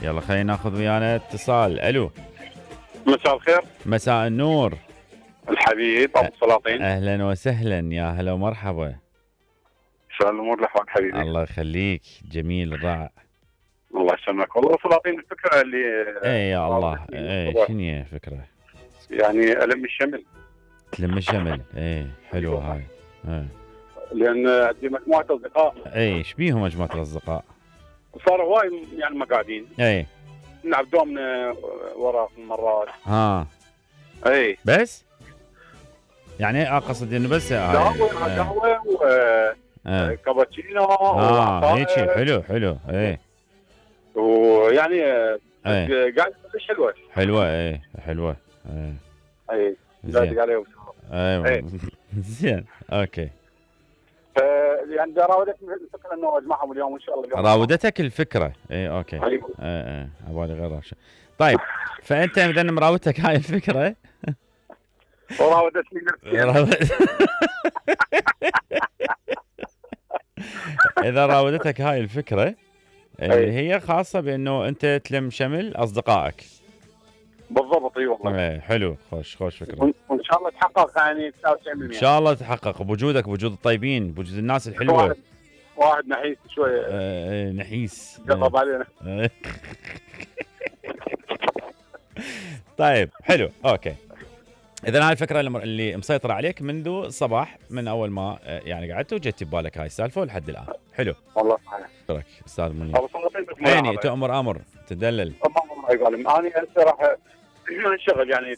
يلا خلينا ناخذ ويانا اتصال. الو. مساء الخير. مساء النور. الحبيب ابو السلاطين. اهلا وسهلا، يا هلا ومرحبا. شلون الامور الاحوال حبيبي؟ الله يخليك، جميل رائع. الله يسلمك. والله سلاطين الفكره اللي اي يا الله. اي شنو هي الفكره؟ يعني الم الشمل. تلم الشمل. اي حلوه هاي. لان عندي مجموعه اصدقاء. اي ايش بيهم مجموعه الاصدقاء؟ صاروا هواي يعني ما قاعدين. اي نلعب دومنا ورا مرات. اي بس يعني اقصد انه بس قهوه كابتشينو. هيك حلو حلو. اي ويعني قاعد حلوه حلوه. اي حلوه. اي زين عليه. ايوه زين اوكي. يعني راودتني الفكره انه اجمعهم اليوم ان شاء الله. راودتك الفكره. اي اوكي. اي عبالي غير راشد. طيب فانت اذا مراودتك هاي الفكره وراودتني اذا راودتك هاي الفكره اللي هي خاصه بانه انت تلم شمل اصدقائك. بالضبط. اي والله. حلو. خوش فكره. وان شاء الله تحقق يعني 99%. ان شاء الله تحقق بوجودك، بوجود الطيبين، بوجود الناس الحلوه. واحد نحيس شويه. نحيس قرب علينا. طيب حلو اوكي. اذا هاي الفكره اللي مسيطره عليك منذ الصباح، من اول ما يعني قعدت وجت ببالك هاي السالفه ولحد الان. حلو والله صحيح. شكرك استاذ منير. يعني تؤمر امر تدلل. الله يقول انا هسه راح انشغل يعني.